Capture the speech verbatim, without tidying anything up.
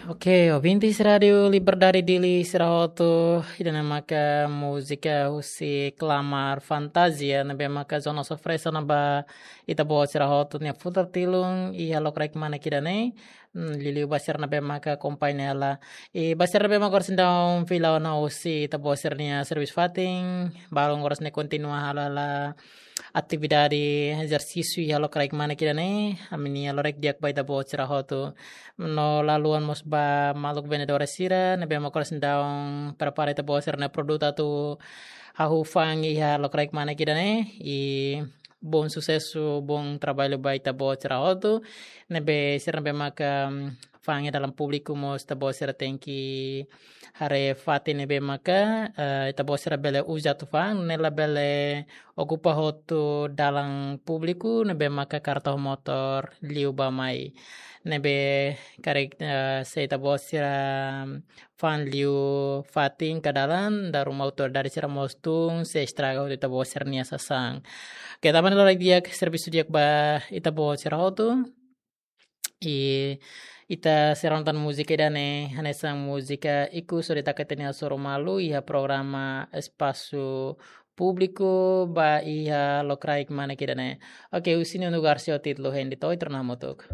Ok, ouvintes Rádio Liberdade Dili sira hotu, ida-ne'e maka múzika husi Klamar Fantasia, ne'ebé maka Zona Sofresa na ba ita-boot sira hotu nia futar tilun iha lokraik manek ida-ne'e. Hmm, liuliu ba sira ne'ebé maka akompaña hela. I ba sira ne'ebé maka oras ne'e daudaun fila ona husi ita-boot sira-nia servisu fatin, balun oras ne'e kontinua halo hela atividade ezersísiu iha lokraik manek ida-ne'e, ami-nia lorokraik di'ak ba ita-boot sira hotu. No laluan mós ba maluk vendedores sira, ne'ebé maka oras ne'e daudaun prepara ita-boot sira-nia produtu atu hahú fa'an iha lokraik manek ida-ne'e, i bom susesu, bom traballu ba ita-boot sira hotu, ne'ebé sira ne'ebé maka, mm, fa'an iha dalan públiku mós ita-boot sira tenke haree fatin ne'ebé maka, eh, ita-boot sira bele uza atu fa'an, ne'e labele okupa hotu dalan públiku, ne'ebé maka karreta ho motór liu ba mai. Ne'ebé karik, eh, se ita-boot sira fa'an liu fatin ka dalan, dala ruma autoridade sira mós tun, sei estraga hotu ita-boot sira-nia sasán. Oke, tanba ne'e lorokraik di'ak, servisu di'ak ba ita-boot sira hotu. I ita sei rona tan múzika ida-ne'e, hanesan múzika ikus hodi taka ita-nia hasoru malu iha programa Espasu Públiku ba iha lokraik manek ida-ne'e. Oke, husi Nuno Garcia ho títulu Hein de Toit, rona hamutuk.